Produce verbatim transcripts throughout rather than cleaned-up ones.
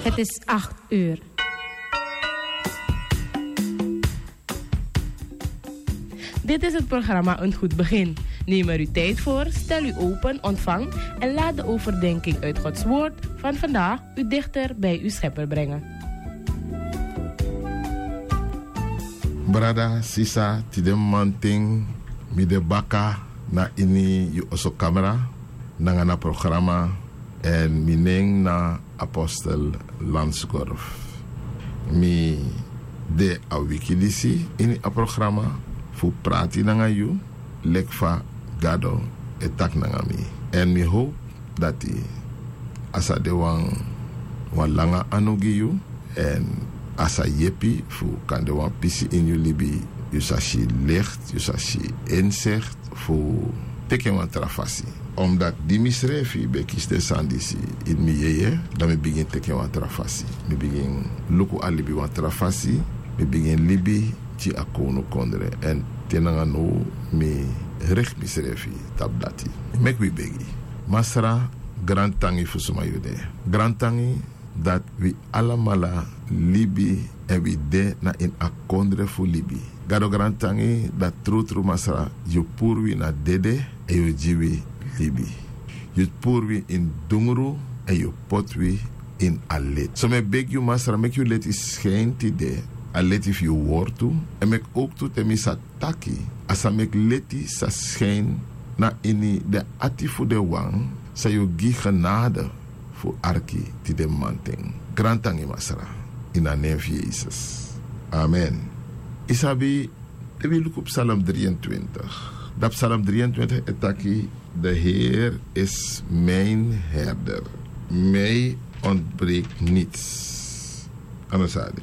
Het is acht uur. Dit is het programma Een Goed Begin. Neem er uw tijd voor, stel u open, ontvang en laat de overdenking uit Gods Woord van vandaag u dichter bij uw Schepper brengen. Brada, sisa, tide mamanten mi de baka na ini yu oso kamra nanga na programa, èn mi nen na Apostel Lansgorf. Mi de a wiki disi ini a programa fu prati nanga yu leki fa Gado e taki nanga mi. Èn mi howpu dati a sa de wan, wan langa anu gi yu, èn a sa yepi fu kan de wan pisi ini yu libi, yu sa si licht, yu sa si inzicht fu teki en wan tra fasi. Omdat di misrefi ben kisi den sani disi ini mi yeye, dan mi bigin teki en wan tra fasi. Mi bigin luku a libi wan tra fasi, mi bigin libi gi a kownukondre. Èn te nanga now mi reki misrefi tapu dati. Meki wi begi. Masra, grantangi fu suma yu de. Grantangi dati wi alamala libi èn wi de na ini a kondre fu libi. Gado, grantangi dati trutru, Masra, yu puru wi na dede èn yu gi wi libi. Yu puru wi ini dungru èn yu poti wi ini a leti. So mi e begi yu, Masra, meki yu leti skin tide, a leti fu yu wortu, èn meki owktu te mi sa taki, a sa meki leti sa skin na ini den ati fu den wan san yu gi genade fu arki tide mamanten. Grantangi, Masra, ini a nen fu Yesus. Amen. Yu sabi, te wi luku Psalm drieëntwintig. Dan Psalm drieëntwintig e taki: De Heer is mijn herder. Mij ontbreekt niets. A no sa de.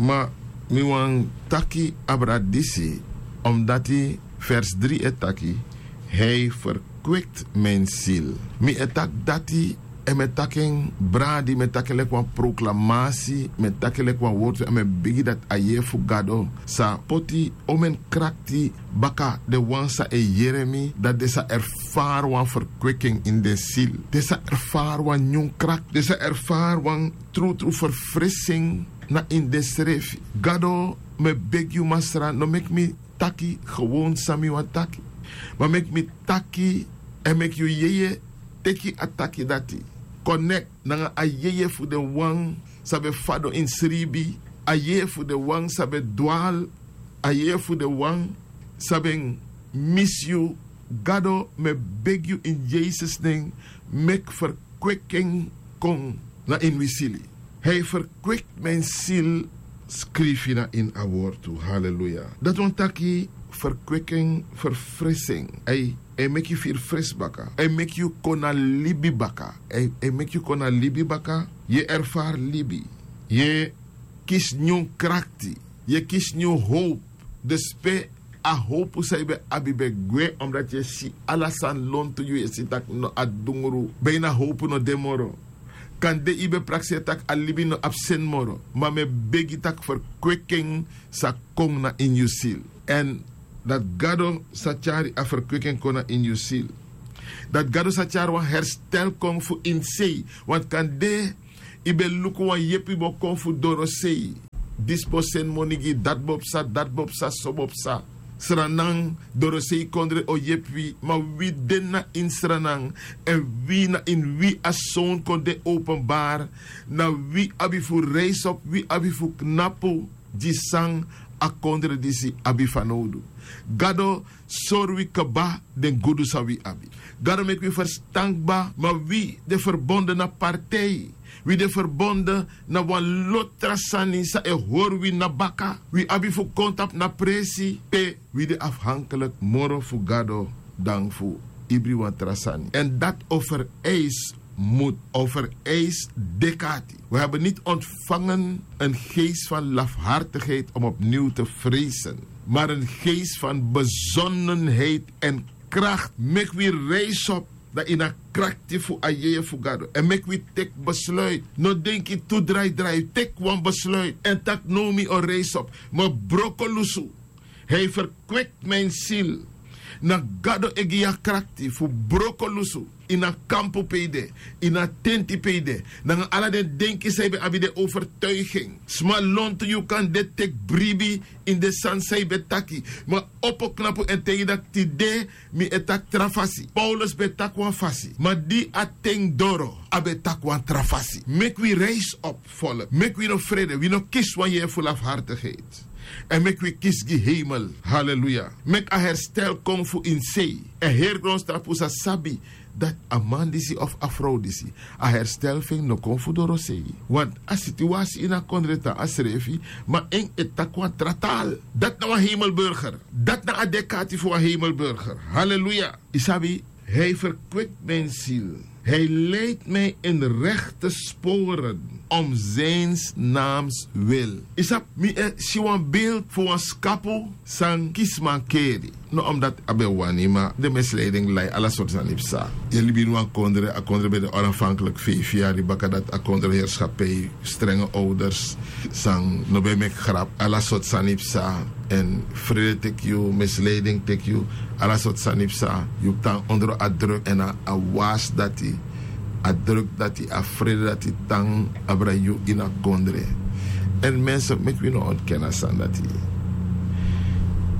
Ma mi wani taki abra disi, omdati vers drie e taki: Hij verkwikt mijn ziel. Mi e taki dati, èn mi e taki en bradi, mi e taki en leki wan proklamasi, mi e taki en leki wan wortu, èn mi e begi dati a yeye fu Gado sa poti omeni krakti baka den wan san e yere mi, dati den sa erfari wan verkwiking ini den ziel. Den sa erfari wan nyun krakti, den sa erfari wan trutru verfrising na ini densrefi. Gado, mi e begi yu, Masra, no meki mi taki gewoon san mi wani taki, ma meki mi taki èn meki yu yeye teki a taki dati. Connect nanga a yeye fu den wan san ben fadon ini sribi, a yeye fu den wan san ben dwali, a yeye fu den wan san ben misi yu. Gado, mi e begi yu ini Yesus nen, meki verkwiking kon na ini wi sili. Hij verkwikt mijn ziel, skrifi na ini a wortu. Haleluya. Dati wani taki verkwiking, verfrising. Ai, ai meki yu firi fresi baka. Ai meki yu kon na libi baka. Ai, ai meki yu kon na libi baka. Yu e erfari libi. Yu e kisi nyun krakti. Yu e kisi nyun howpu. Dus pe a howpu san yu ben abi ben gwe, omdati yu e si ala sani lontu, yu e si tak' no, a dungru, ben ini a howpu no de moro. Kande yu ben prakseri tak' a libi no abi seni moro, ma mi e begi tak' verkwiking sa kon na ini yu sili. Èn dati Gado sa tyari a verkwiking kon na ini yu sili. Dati Gado sa tyari wan herstel kon fu ini sei, want kande yu ben luku wan yepi bo kon fu dorosei. Disi bo seni moni gi yu, dati bo psa, dati bo psa, so bo psa. Sranan, dorosei kondre o yepi wi, ma wi de na ini Sranan, èn wi na ini wi a Sown kon de openbari, na wi abi fu reisi op, wi abi fu knapu gi san a kondre disi abi fanowdu. Gado sori wi kaba den gudu san wi abi. Gado meki wi ferstan kba, ma wi de ferbonde na partij. Wi de ferbonde na wan lo tra sani san e hori wi na baka. Wi abi fu kon tapu na presi pe wi de afhankelik moro fu Gado dan fu ibri wan tra sani. Èn dati o fereisi moed, o vereist dekati. We hebben niet ontvangen een geest van lafhartigheid om opnieuw te vrezen, maar een geest van bezonnenheid en kracht. Meki wi reisi op na ini a krakti fu a yeye fu Gado. Èn meki wi teki besluit. No denki tu drai drai, teki wan besluit. Èn taki now mi o reisi op. Mi o broko lusu. Hij verkwikt mijn ziel. Na Gado e gi yu a krakti fu broko lusu. ini a kampu pe yu de, ini a tenti pe yu de, nanga ala den denki san yu ben abi, den overtuigi en. Sma lontu yu kan de teki bribi ini den sani san yu ben taki. Ma opo knapu èn taigi dati tide mi e taki tra fasi. Paulus ben taki wan fasi, ma di a ten doro a ben taki wan tra fasi. Meki wi reisi op, volk. Meki wi no frede, wi no kisi wan yeye fu lafhartigheid. Èn meki wi kisi gi heimel. Haleluya. Meki a herstel kon fu ini sei. Èn heri grontapu sa sabi dati a man disi of a frow disi, a herstel fu en no kon fu dorosei. Want a situasi ini a kondre tan a srefi, ma en e taki wan tra taal. Dati na wan hemelburger. Dati na a dekati fu wan hemelburger. Haleluya. Yu sabi, hij verkwikt mijn ziel. Hij leidt mij in rechte sporen om zijns naams wil. Yu sabi, mi e si wan beeld fu wan skapu san kisi mankeri. No omdat a ben wani, ma den misleiding lai, ala sortu sani psa. Yu e libi ini wan kondre, a kondre ben de onafhankelijk feifi yari, baka dati a kondre herschappij, strenge ouders san no ben meki grap, ala sortu sani psa. Èn frede teki yu, misleiding teki yu, ala sortu sani psa. Yu tan ondro a druk èn a, a wasi dati, a druk dati, a frede dati tan abra yu ini a kondre. Èn mensen, meki wi no ontken a sani dati.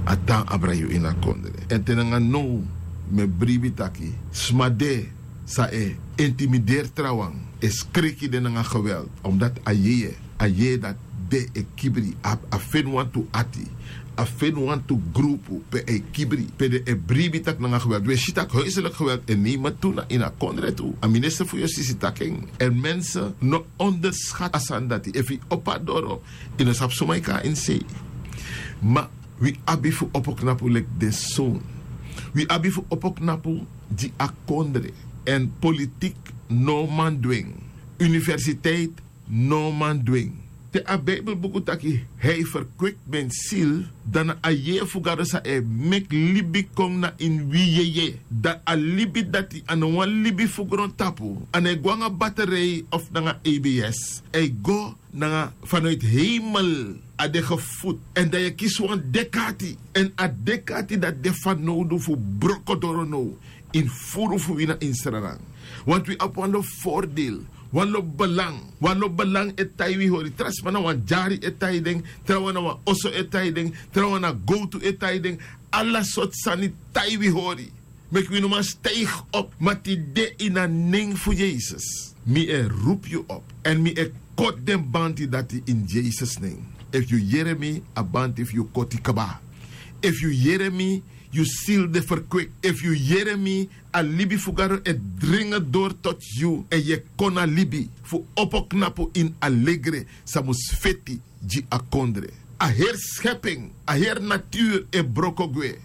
A tan abra yu ini a kondre. Èn te nanga now mi e bribi taki sma de san e intimideri trawan, e skriki den nanga geweld, omdat a yeye, a yeye dati de e kibri, a, a feni wantu ati, a feni wantu grupu pe a e kibri, pe den e bribi taki nanga geweld. Wi e si taki huiselijk geweld e nemen tu na ini a kondre tu. A minister fu yustisi taki en. Èn mensen, no onderschat a sani dati. Efu yu opo a doro, yu no sabi suma yu kon na ini sei. Ma wi abi fu opo knapu leki den son. Wi abi fu opo knapu gi a kondre. Èn politik no man du en. Universiteit no man du en. Te a Bijbelbuku taki hij verkwikt mijn ziel, dan na a yeye fu Gado san e meki libi kon na ini wi yeye. Dan a libi dati a no wan libi fu grontapu. A no e go nanga baterij of nanga E B S. A e go nanga, vanuit hemel a de gevoed. Èn dan yu e kisi wan dek'ati. Èn a dek'ati dati de fanowdu fu broko doro now ini furu fu wi na ini Sranan. Want wi abi wanlo voordeel, wanlo belang. Wanlo belang e tai wi hori. Tra sma na wan dyari e tai den, trawan na wan oso e tai den, trawan na gowtu e tai den. Ala sortu sani tai wi hori. Meki wi no man stijgi op. Ma tide ini a nen fu Yesus, mi e rupu yu op. Èn mi e koti den banti dati ini Yesus nen. Efu yu yere mi, a banti fu yu koti kaba. Efu yu yere mi, yu ziel de verkwikt. Efu yu yere mi, a libi fu Gado e dringi doro tot yu. Èn yu e kon na libi fu opo knapu ini alegre san mus feti gi a kondre. A heri schepping, a heri natuur e broko gwe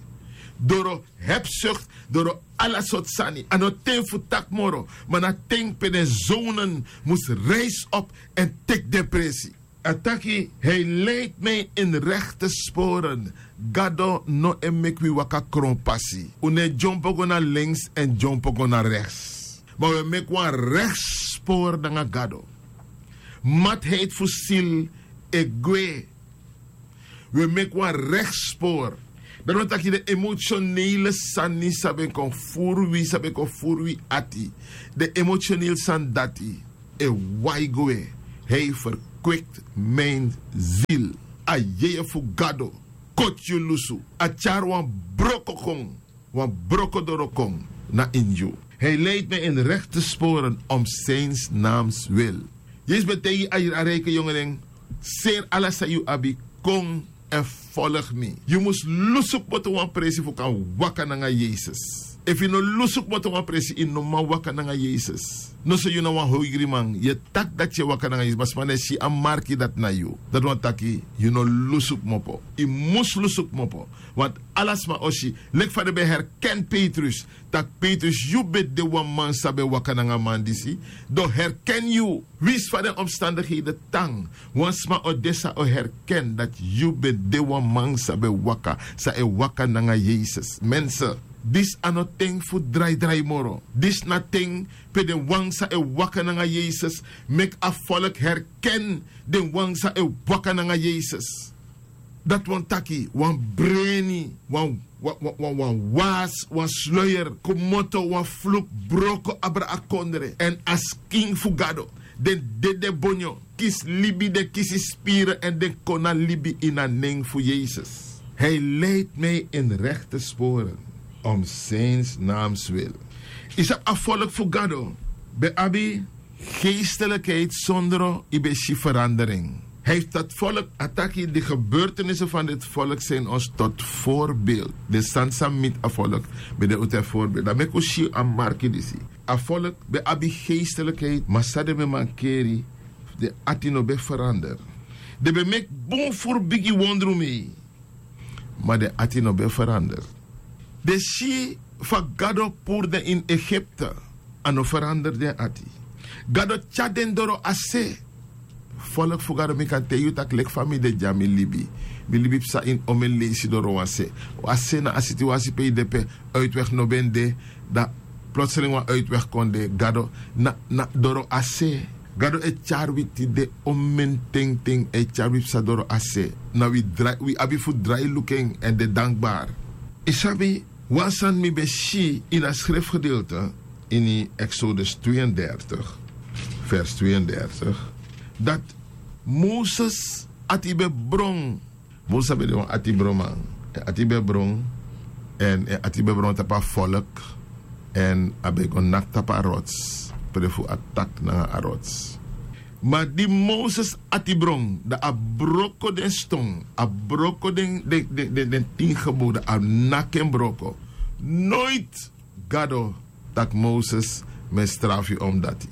doro hebzucht, doro ala sortu sani. A no ten fu taki moro, ma na ten pe den zonen mus rijsi op èn teki den presi. A taki, hij leidt mij in rechte sporen. Gado no e meki wi waka kronpasi. Un no e dyompo go na links èn dyompo go na rechts. Ma un e meki wan rechtspor nanga Gado. Matheid fu ziel e gwe. Wi e meki wan rechtspor. Dati wani taki den emotionele sani san ben kon furu wi, san ben kon furu wi ati, den emotionele sani dati e wai gwe. Hij verkwikt mijn ziel. A yeye fu Gado koti yu lusu. A tyari wan broko kon, wan broko doro kon na ini yu. Hij leidt mij in rechte sporen om zijns naams wil. Yesus ben taigi a, a rijke yongeren: seri ala san yu abi, kon èn folg mi. Yu mus lusu kmoto wan presi fu kan waka nanga Yesus. Efu yu no lusu kmoto wan presi, yu no man waka nanga Yesus. Noso yu na wan hoigriman, yu e taki dati yu e waka nanga Yesus, ma sma no e si a marki dati na yu. Dati wani taki yu no lusu kmopo. Yu mus lusu kmopo. Want ala sma o si, leki fa den ben herken Petrus, tak' Petrus, yu ben de wan man san ben waka nanga a man disi. Den o herken yu. Winsi fa den omstandigheden tan, wan sma o de san o herken dati yu ben de wan man san ben waka, san e waka nanga Yesus. Mensen, disi a no ten fu draidrai moro. Disi na ten pe den wan san e waka nanga Yesus meki a volk herken den wan san e waka nanga Yesus. Dati wani taki wan breni, wan, wan wan wan wan was wan sluyer, kmoto wan fluk, broko abra a kondre èn a skin fu gado. Den dede bonyo kisi libi, den kisi spiri èn den kon na libi ini a nen fu yesus. Hij leidt mij in rechte sporen om zijn naams wil. Yu sabi a folk fu gado ben abi geestelikheid sondro yu ben si verandering. Hij fu dat folk a taki di gebeurtenissen van dit folk zijn ons tot voorbeeld. Den sani san miti a folk ben de un ten voorbeeld dan meki un si a marki disi. A folk ben abi geestelikheid ma san den ben mankeri, den ati no ben verander. Den ben meki bun furu bigi wondru mei, ma den ati no ben verander. Den si fa gado puru den ini egipte, a no verander den ati. Gado tyari den doro a se. Folk fu gado mi kan taigi yu tak' leki fa mi de dya mi libi. Mi libi psa ini omen leisi doro wan se. A se na a situasi pe yu de pe uitweg no ben de. Dan plotseling wan uitweg kon de gado na doro a se. Gado e tyari wi tide omen tengteng a e tyari wi psa doro a se. Na wi abi fu drai luku en èn de dankbari. Yu sabi wan sani mi ben si ini a srefgedeelte ini exodus tweeëndertig vers tweeëndertig, dati moses ati ben bron. Moses a ben de wan ati bronman. Èn ati ben bron èn èn ati ben bron tapu a folk. Èn a ben go naki tapu a rots, pe de fu a taki nanga a rots. Ma di moses ati bron dan a broko den ston, a broko den den den den tin gebode a naki en broko. Noiti gado tak' moses mi e strafu yu omdati.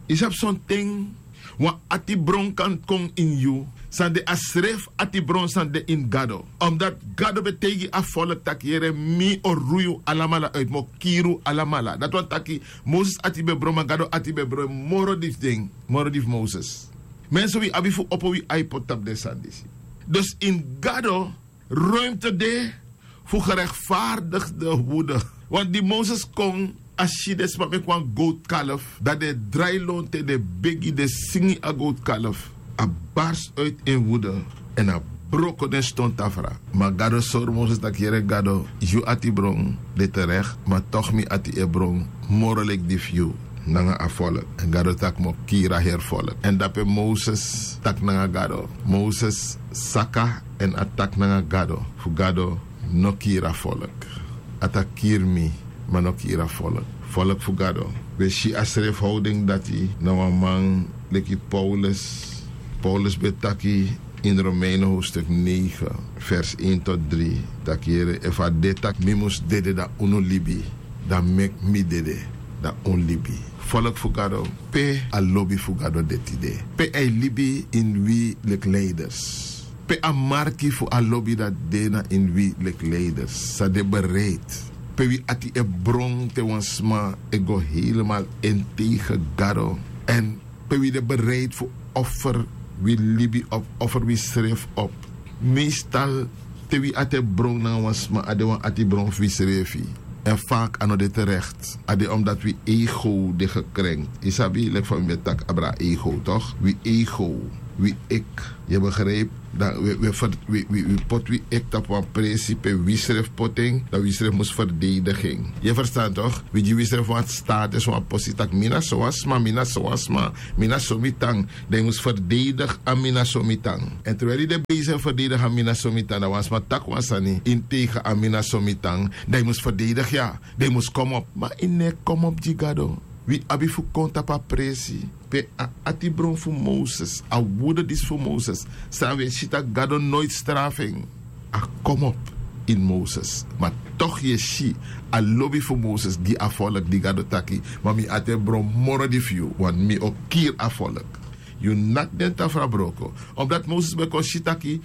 Yu sabi sonten wan ati bron kan kon ini yu san de a srefi ati bron san de ini gado. Omdati gado ben taigi a folk tak' yere mi o rui yu alamala uit mi o kiri yu alamala dati wani taki moses ati ben bron ma gado ati ben bron moro di fu den moro di fu moses. Mensen wi abi fu opo wi ai poti tapu den sani disi. Dus ini gado ruimte de fu gerechtvaardigde woede. Want di moses kon a si den sma meki wan gootkalf dan den e drai lontu en den e begi den singi a gootkalf. A barsi uiti en woede èn a broko den ston tafra. Ma gado sori moses tak' yere gado yu ati bron de terek ma tok' mi ati e bron moro leki di fu yu nanga a folk. Èn gado tak' mi o kiri a heri folk èn dape moses taki nanga gado. Moses saka èn a taki nanga gado fu gado no kiri a folk. A taki kiri mi ma no kiri a folk. Folk fu gado wi e si a srefi howding dati na wan man leki paulus. Paulus ben taki ini romeinen hofstuk negen vers een tot drie, tak' yere efu a de tak' mi mus dede dan unu libi, dan meki mi dede dan un libi. Folk fu gado, pe a lobi fu gado de tide? Pe a e libi ini wi leki leiders? Pe a marki fu a lobi dati de na ini wi leki leiders? San de bereid? Pe wi ati e bron te wan sma e go helemal en tegen gado? Èn pe wi de bereid fu offer wi libi op, offer wi srefi op? Meestal te wi ati e bron nanga wan sma a de wan ati bron fu wi srefi. Èn fak a no de terekt a de omdati wi ego de gekrenkt. Yu sabi leki fa mi ben taki abra a ego tok'? Wi ego, wi ek. Yu e begripi? Dan wi poti wi ek tapu wan presi pe wi srefi poti en, dan wi srefi mus ferdedigi en. Yu e ferstan tok'? Wi gi wi srefi wan status wan posi tak' mi na so wan sma mi na so wan sma, mi na so mi tan. Dan yu mus ferdedigi a mi na so mi tan. Èn terwel yu de besi e ferdedigi a mi na so mi tan dan wan sma taki wan sani ini tegen a mi na so mi tan, dan yu mus ferdedigi ya. Dan yu mus komopu ma yu no e komopu gi gado. Wi abi fu kon tapu a presi pe a atibron fu moses a wude disi fu moses, san wi e si tak' gado noiti strafu en. A komopu ini moses. Ma tok' yu e si a lobi fu moses gi a folk di gado taki, ma mi ati e bron moro di fu yu want mi o kiri a folk. Yu naki den tafra broko. Omdati moses ben kon si taki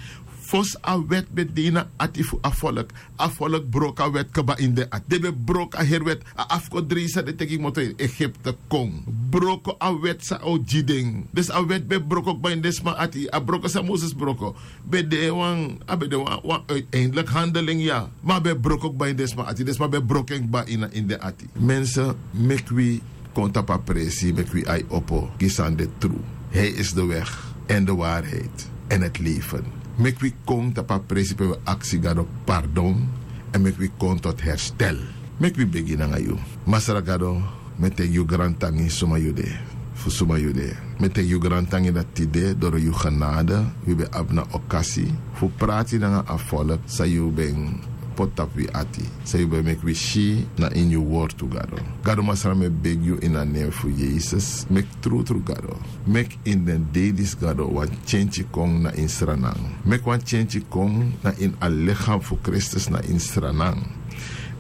fosi a wèt ben de ini a ati fu a folk, a folk broko a wèt kba ini den ati den ben broko a heri wèt. A afkodrei san den teki kmoto ini egipte kon broko a wèt san a o gi den. Dus a wèt ben broko kba ini den sma ati a broko san moses broko ben de wan a ben de wan uiteindelik handeling ya. Ma a ben broko kba ini den sma ati den sma ben broko en kba ini den ati. Mense, meki wi kon tapu a presi meki wi ai opo gi san de tru. Hij is de weg en de waarheid en het leven. Meki wi kon tapu a presi pe wi aksi gado pardon èn meki wi kon tot herstel. Meki wi begi nanga yu. Masra Gado, mi e taigi yu grantangi suma yu de, fu suma yu de. Mi e taigi yu grantangi dati tide doro yu genade wi ben abi na okasi fu prati nanga a folk san yu ben poti tapu wi ati, san yu ben meki wi si na ini yu wortu, Gado. Gado Masra, mi e begi yu ini a nen fu Yesus, meki trutru, Gado, meki ini den dei disi, Gado, wan tyentyi kon na ini Sranan. Meki wan tyentyi kon na ini a lichaam fu Kristus na ini Sranan.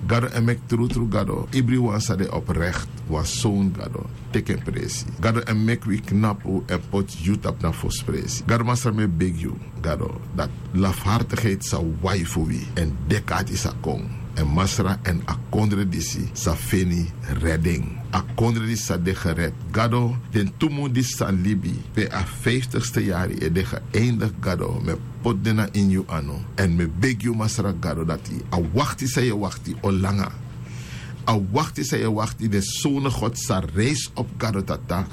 Gado, èn meki trutru, Gado, ibriwan san de oprecht, wan son, Gado, teki en presi. Gado, èn meki wi knapu èn poti yu tapu na fosi presi. Gado Masra, mi e begi yu, Gado, dati lafhartigheid sa wai fu wi èn deki ati sa kon. Èn Masra, èn a kondre disi sa feni redding. A kondre disi sa de gered. Gado, den tu mun disi sa libi, pe a vijftigste yari e de geëindig, Gado, mi e poti den na ini yu anu. Èn mi e begi yu, Masra Gado, dati a wakti san yu e wakti o langa. A wakti san yu e wakti, den sownu God sa reisi op, Gado Tata,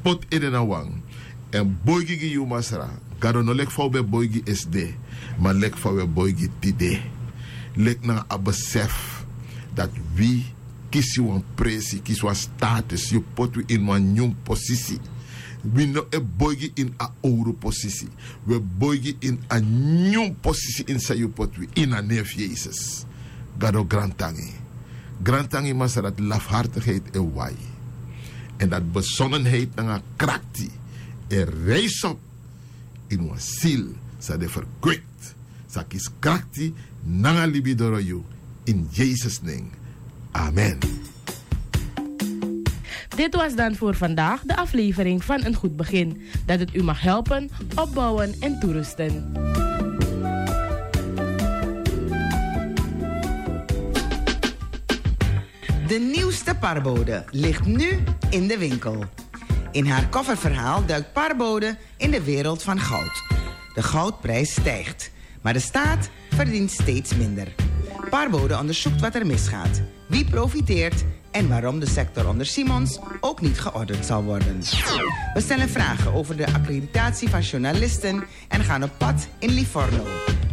poti ede na wan èn boigi gi yu, Masra Gado, no leki fa wi ben boigi esde, ma leki fa wi e boigi tide. Leki nanga a besef dati wi kisi wan presi, kisi wan status, yu poti wi ini wan nyun posisi. Wi no e boigi ini a owru posisi. Wi e boigi ini a nyun posisi ini san yu poti wi, ini a nen fu Yesus. Gado, grantangi. Grantangi, Masra, dati lafhartigheid e wai. Èn dati besondenheid nanga krakti e reisi op ini wan ziel san de verkwikt, san kisi krakti nanga libi doro yu, in Yesus' nen. Amen. Dit was dan voor vandaag de aflevering van Een Goed Begin. Dat het u mag helpen, opbouwen en toerusten. De nieuwste Parbode ligt nu in de winkel. In haar coververhaal duikt Parbode in de wereld van goud. De goudprijs stijgt, maar de staat verdient steeds minder. Parbode onderzoekt wat er misgaat, wie profiteert en waarom de sector onder Simons ook niet geordend zal worden. We stellen vragen over de accreditatie van journalisten en gaan op pad in Livorno,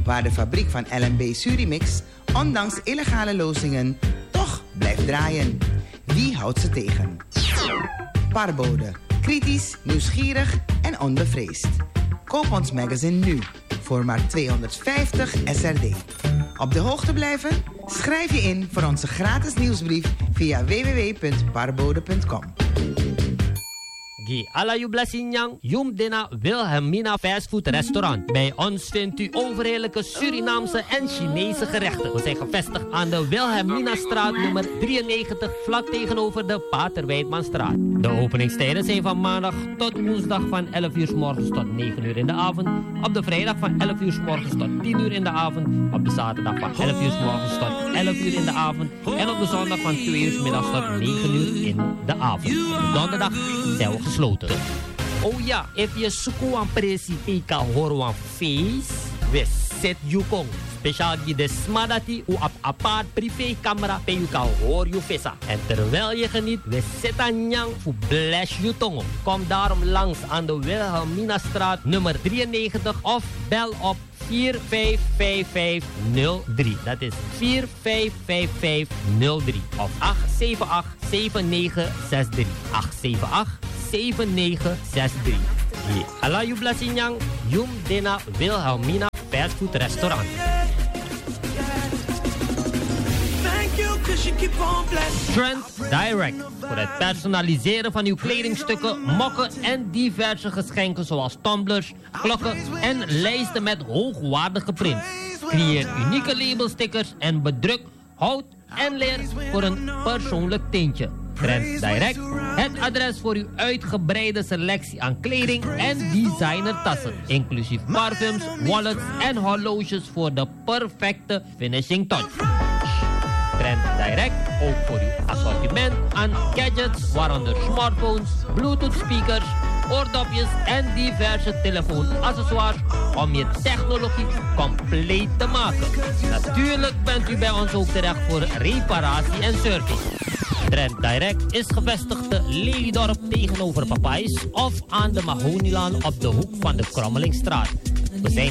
waar de fabriek van L M B Surimix ondanks illegale lozingen toch blijft draaien. Wie houdt ze tegen? Parbode. Kritisch, nieuwsgierig en onbevreesd. Koop ons magazine nu voor maar tweehonderdvijftig S R D. Op de hoogte blijven? Schrijf je in voor onze gratis nieuwsbrief via w w w punt parbode punt com. Gi ala yu blessing nyan, yu mus de na Wilhelmina Fast Food Restaurant. Bij ons vindt u overheerlijke Surinaamse en Chinese gerechten. We zijn gevestigd aan de Wilhelminastraat nummer drieënnegentig, vlak tegenover de Pater Wijdmanstraat. De openingstijden zijn van maandag tot woensdag van elf uur 's morgens tot negen uur in de avond. Op de vrijdag van elf uur 's morgens tot tien uur in de avond. Op de zaterdag van elf uur 's morgens tot elf uur in de avond. En op de zondag van twee uur 's middags tot negen uur in de avond. Op de donderdag zijn we gesloten. Oh ja, efu yu e suku wan presi pe yu kan hori wan feest, we seti yu kon. Speciaal gi den sma dati un abi apart privécamera pe yu kan hori yu fesa. En terwijl je geniet, we seti a nyan fu bless yu tongo. Kom daarom langs aan de Wilhelminastraat nummer drieënnegentig of bel op vier vijf vijf vijf nul drie. Dat is vier vijf vijf vijf nul drie of acht zeven acht zeven negen zes drie. Acht zeven acht zeven negen zes drie. Ye. Ala yu blessing nyan, yu mus de na Wilhelmina Fast Food Restaurant. Trend Direct. Voor het personaliseren van uw kledingstukken, mokken en diverse geschenken zoals tumblers, klokken en lijsten met hoogwaardige prints. Creëer unieke labelstickers en bedruk hout en leer voor een persoonlijk tintje. Trend Direct, het adres voor uw uitgebreide selectie aan kleding en designertassen, inclusief parfums, wallets en horloges voor de perfecte finishing touch. Trend Direct, ook voor uw assortiment aan gadgets, waaronder smartphones, Bluetooth speakers, oordopjes en diverse telefoonaccessoires om je technologie compleet te maken. Natuurlijk bent u bij ons ook terecht voor reparatie en service. Trend Direct is gevestigd te Lelydorp tegenover Papais of aan de Mahonilaan op de hoek van de Krommelingstraat. We zijn te